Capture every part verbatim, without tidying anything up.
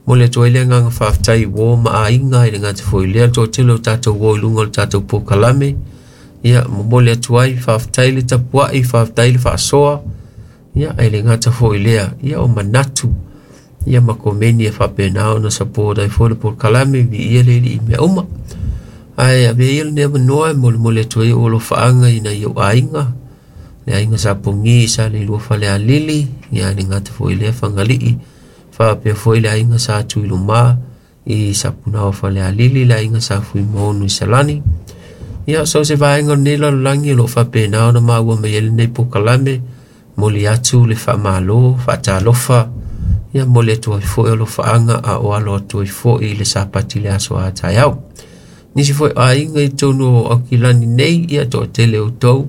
Momoli atu ai le agaga faafetai i uo ma aiga, e le gata foi i lea le toatele o tatou uo i luga o le tatou polokalame. Ia, momoli atu ai faafetai le tapuai, faafetai le faasoa. Ia, e le gata foi i lea, ia o manatu ia ma komeni e faapena ona support ai foi le polokalame, viia le Alii i mea uma. Ae avea ia lenei avanoa e molimoli atu ai ou alofaaga i nai ou aiga, le aiga sa Pogi sa le lua Falealili, ia e le gata foi i lea Fagalii, faapea foi le aiga sa Tuiluma i Sapunaoa Falealili, le aiga sa Fuimaono i Salani. Ia, so se vaega o lenei lalolagi o lo o faapena ona maua mai ai lenei polokalame, moli atu le faamalo, faatalofa, ia moli atu ai foi alofaaga a o alo atu ai foi i le Sapati le aso a taeao. Nisi foi aiga i totonu o Aukilani nei, ia toatele outou,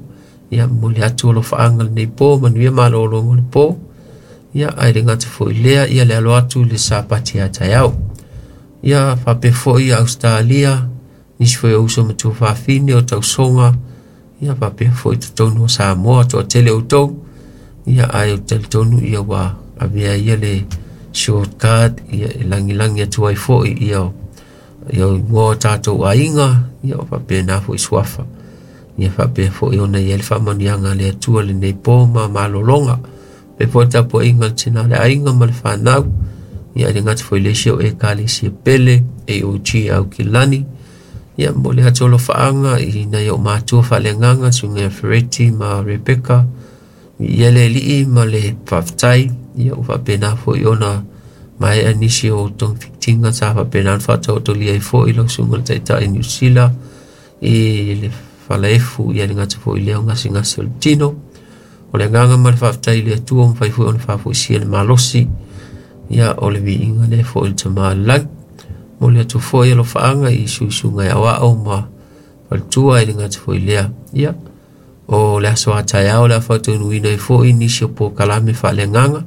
ia momoli atu alofaaga lenei po, manuia malologa o le po. Ia, ae le gata foi i lea, ia le alo atu i le Sapati a taeao. Ia, faapea foi Australia, nisi foi o uso ma tuafafine o tausoga, ia faapea foi totonu o Samoa, toatele outou. Ia, ae ou te talitonu ia ua avea ia le shortcut, ia e lagilagi atu ai foi ia ia igoa o tatou aiga, ia o faapena foi suafa. Ia faapea foi ona i ai le faamanuiaga a le Atua lenei po ma malologa. Faapea foi le tapuaiga a le tina o le aiga ma le fanau. Ia e le gata foi i le isi o Ekalesia Pele, A O G Aukilani. Ia momoli atu alofaaga i nai ou matua faaleagaga, susuga ia Fereti ma Rebecca. Ia le Alii ma le faafetai. Ia ua faapena foi ona maea nisi o togafitiga sa faapena ona faataotolia ai foi lau susuga i le Taitai Niu Sila i le falaefu, ia le gata foi i lea o gasegase o le tino. O le agaga ma le faafetai i le Atua ua mafai foi ona faafoisia le malosi. Ia, o le viiga lea foi i le Tama o le Lagi. Momoli atu foi alofaaga i suisuga e aoao ma faletua, e le gata foi i lea. Ia, o le aso a taeao le a faataunuuina ai foi nisi o polokalame faaleagaga.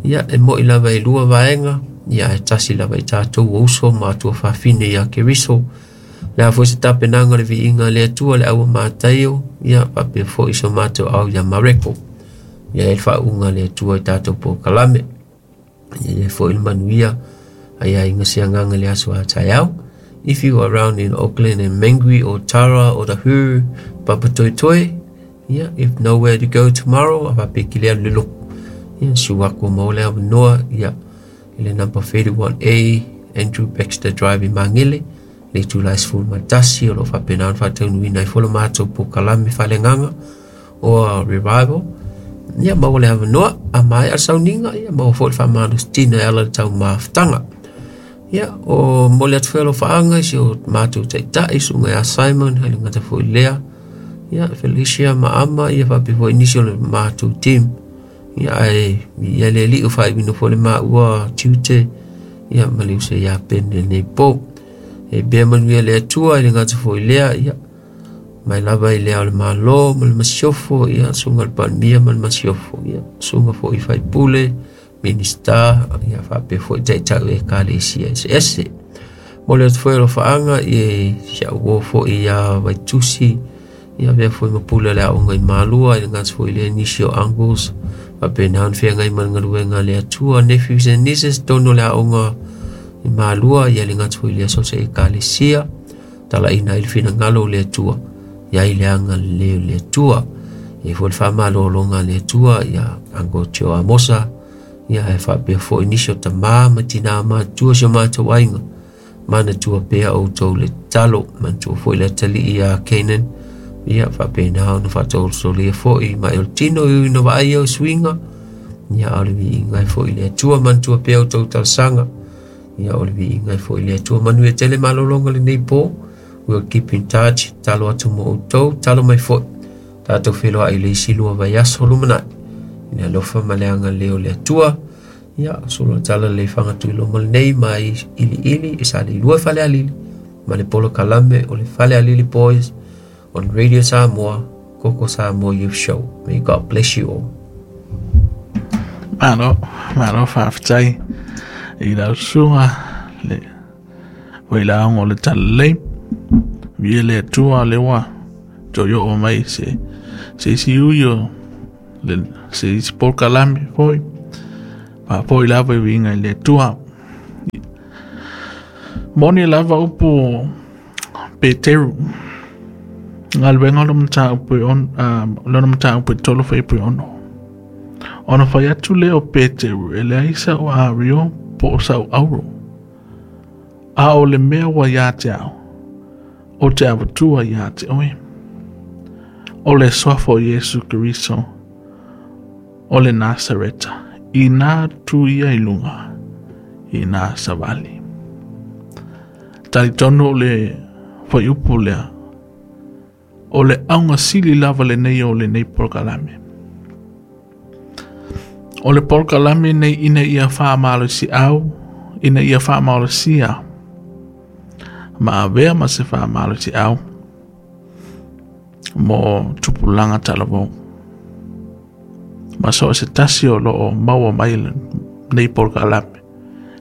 Ia, e moi lava e lua vaega, ia ae tasi lava i tatou o uso ma tuafafine ia Keriso. Le a foi se tapenaga o le viiga a le Atua le aua Mataio, ia faapea foi so matou au ia Mareko. Ia e le faauuga a le Atua i tatou polokalame. Ia e foi le manuia ai aiga se agaga le aso a taeao. If you are around in Auckland and Mangere or Tara or the Hu, Papatoetoe, yeah, if nowhere to go tomorrow, a faapea ki le alu le loku. Ia, suaku o maua le avanoa, ia, i le number thirty-one A, Andrew Baxter Drive i Mangere, le itula e sefulu ma tasi, o lo o faapena ona faataunuuina ai foi lo matou polokalame faaleagaga o Revival. Ia, maua le avanoa, a maea le sauniga, ia, maua foi le faamalositino e ala i le taumafataga. Ia, o momoli atu foi alofaaga i si o matou taitai, susuga ia Simon, e le gata foi i lea, ia, Felicia ma Ama, ia faapea foi nisi o le matou team. Ia, ae ia le Alii o faaiuina foi le maua tiute, ia, ma le uso ia Pene lenei po. E pea manuia le Atua, e le gata foi i lea, ia, mai lava i le ao le Malo ma le Masiofo, ia, susuga le Palemia ma le Masiofo, ia, susuga foi i faipule, minista, ia, faapea foi taitai o Ekalesia eseese. Momoli atu foi alofaaga i si au uo foi ia Vaitusi, ia avea foi ma pule o le aoga i Malua, e le gata foi i lea nisi o uncles, faapena ona feagai ma le galuega a le Atua, nephews and nieces, totonu o le aoga i Malua, ia le gata foi i lea so o se Ekalesia, talaina ai le finagalo o le Atua, ia i le agalelei o le Atua. Ia foi le faamalologa a le Atua, ia Uncle Joe Amosa, ia e faapea foi nisi o tamā ma tinā matutua si o matou aiga, manatua pea outou le tatalo, manatua foi le atalii ia Canaan, ia faapena ona faataolosolia foi mai o le tino i ina vaai au suiga, ia o le viiga ai foi le Atua, manatua pea outou talosaga, ia o le viiga ai foi le Atua. Manuia tele malologa lenei po. We'll keep in touch, talo atu mo outou, talo mai foi, tatou feiloai i le isi lua vaiaso lumanai. I le alofa ma le agalelei o le Atua, ia, solo tala le fagatuiloma lenei mai iliili e sa le lua Falealili, ma le polokalame o le Falealili Boys on Radio Samoa, Koko Samoa Youth Show. May God bless you all. Malo, malo faafetai i lau susuga le foi laoga o le talalelei. Viia le Atua le ua toe oo mai se se isi ui o le se isi polokalame foi faafoi lava i uiga i le Atua. Moni lava upu Peteru galuega o mataupu e ono lona mataupu e tolu fuaiupu e ono. Ona fai atu lea o Peteru e leai sa'u ario po o sa'u auro, a o le mea ua iā te ao o te avatua iā te oe, o le suafa o Iesu Keriso o le Nasareta, ina tu ia i luga ina savali. Talitonu o le fuaiupu lea o le auga sili lava lenei o lenei polokalame. O le polokalame nei ina ia faamalosiau, ina ia faamalosia ma avea ma se faamalosiau mo tupulaga talavou. Ma so o se tasi o loo maua mai lenei polokalame,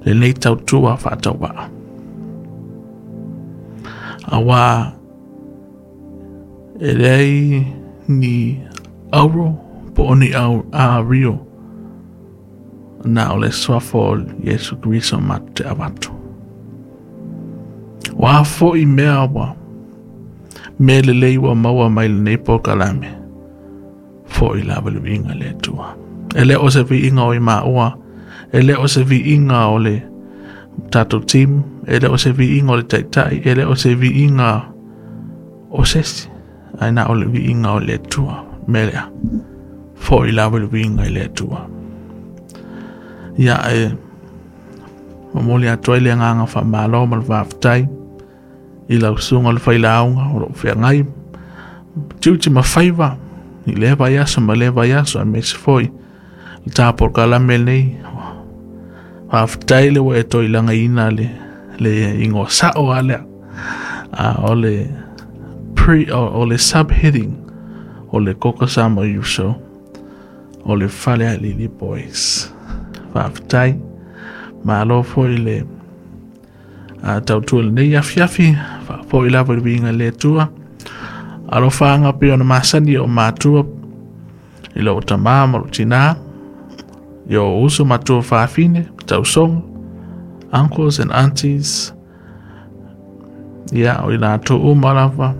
lenei tautua faatauvaa. Auā e leai ni auro po o ni au ario na o le suafa o Iesu Keriso matou te avatu. Ua fo'i mea ua mea lelei ua maua mai lenei polokalame, fo'i lava le viiga i le Atua. E le o se viiga o i maua, e le o se viiga o le tatou team, e le o se viiga o le taitai, e le o se viiga o sesi, ae na o le viiga o le Atua. Mea lea, fo'i lava le viiga i le Atua. Ia e momoli atu ai le agaga faamalo ma le faafetai i lau susuga o le failauga o loo feagai tiute ma faiva i lea vaiaso ma lea vaiaso, aemaise foi le tapolokalame lenei. Faafetai le ua e toilagaina le le igoa sa'o a lea, a o le pre o, o le subheading o le Koko Samoa Youth Show o le Falealili Boys. Faafetai, malo foi le a tautua lenei afiafi, faafoi lava i le viiga i le Atua. Alofaga pei ona masani o matua i lou tamā ma lou tinā, i o uso matua fafine, tausoga, uncles and aunties, ia o i latou uma lava.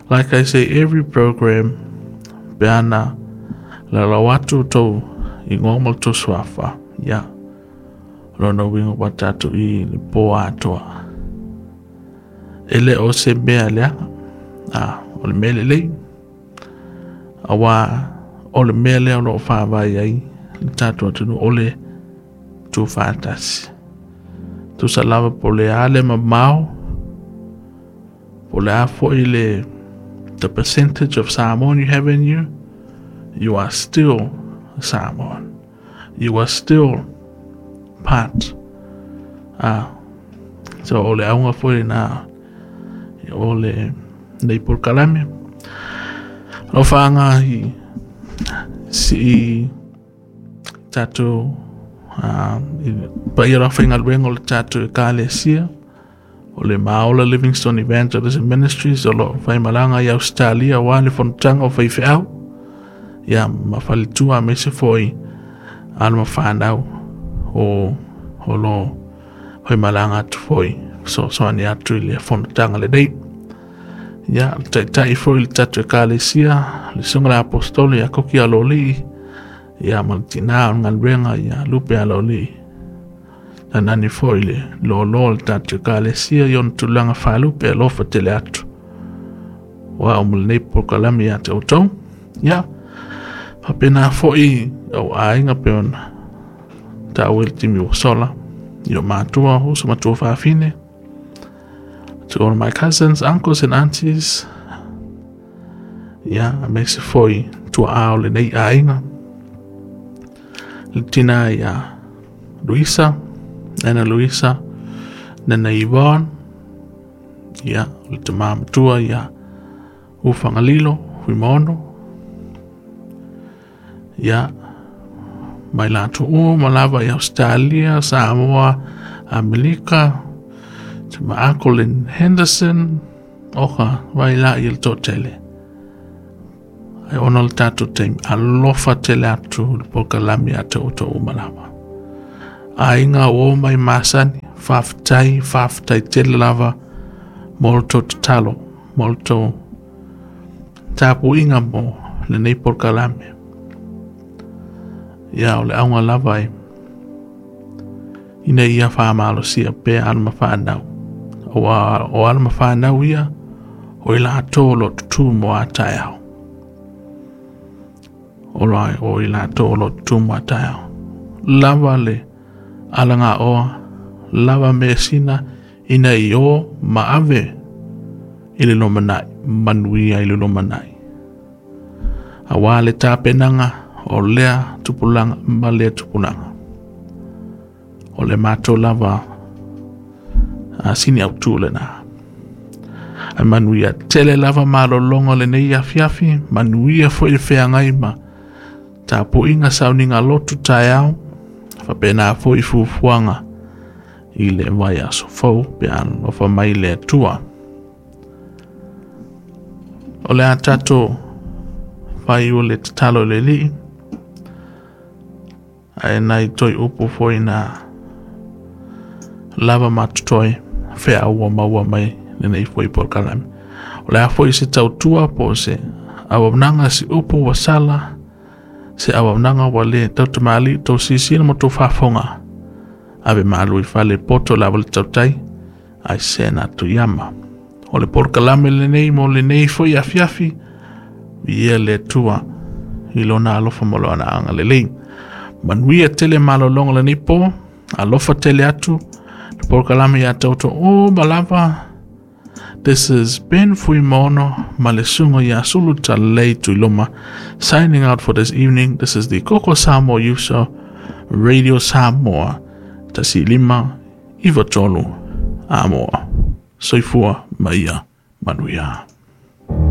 Like I say, every program pe ana lalau atu tou igoa ma le tou suafa, ia lona uiga ua tatou i le po atoa. E le o se mea leaga, a o le mea lelei, auā o le mea lea o loo faavae ai le tatou atunuu o le tuufaatasi. Tusa lava po o le a le mamao, po o le a foi le the percentage of Samoan you have in you, you are still Samoan. You are still part. Ah, so o le auga foi na o le nei polokalame. Alofaga i si tatou uh, paia o le aufaigaluega o le tatou ekalesia o le Maola Livingstone Evangelism Ministries o loo faimalaga i Australia auā le fonotaga o faifeau ia ma faletua aemaise foi alo ma fanau o o lo faimalaga atu foi fesoasoani atu i le fonotaga lenei. Ia le taitai foi le tatou ekalesia le susuga le Aposetolo ia Koki Aloalii, ia ma le tinā o le galuega ia Lupe Aloalii. Tanani foi le lōlō o le tatou ekalesia i ona tulaga faalupe alofa tele atu ua ao ma lenei polokalame iā te outou. Ia faapena foi au aiga pe ona taua i le timi ua sola i o matua uso matua fafine. To all my cousins, uncles and aunties, ia aemaise foi tua'a o lenei aiga, le tinā ia Luisa, nana Luisa, nana Yvonne, ia o le tamā matua ia Ufagalilo Fuimaono, ia mai latou uma lava i Australia, Samoa, Amerika, to my uncle in Henderson, oka vai la i le toatele. Ai ona o le tatou taimi, alofa tele atu le polokalame ia te outou uma lava. Aiga ua o mai masani, Faafetai, faafetai tele lava mo le tou tatalo, mo le tou tapuiga mo lenei polokalame. Ia o le auga lava e ina ia faamalosia pea alo ma fanau. Aua o alo ma fanau ia o i latou o lo o tutū mo a taeao. O la o i latou o lo o tutū mo a taeao. Lava le alagaoa, lava measina ina i o ma ave i le lumanai, manuia i le lumanai. Aua le tapenaga o lea tupulaga ma lea tupulaga. O le matou lava a sini autu lena. Ae manuia tele lava malologa o lenei afiafi, manuia foi le feagai ma tapuiga sauniga lotu taeao, faapena foi fuafuaga i le vaiaso fou pe a alofa mai le Atua. O le a tatou fai o le tatalo i le Alii, ae nai toe upu foi na lava ma totoe feau ua maua mai lenei foi polokalame. O le a foi se tautua po o se auaunaga se upu ua sala, se auaunaga ua le tautamalii tou silasila ma tou faafofoga, ave malu i fale poto lava le tautai ai se na tuiama. O le polokalame lenei mo lenei foi afiafi, viia le Atua i lona alofa ma lona agalelei. Manuia tele malologa lenei po, alofa tele atu le polokalame ia tauto uma lava. This is Ben Fuimaono ma le susuga ia Sulu Talalelei Tuiloma signing out for this evening. This is the Koko Samoa Youth Show, Radio Samoa, tasi lima, iva tolu, Amoa. Soifua ma ia manuia.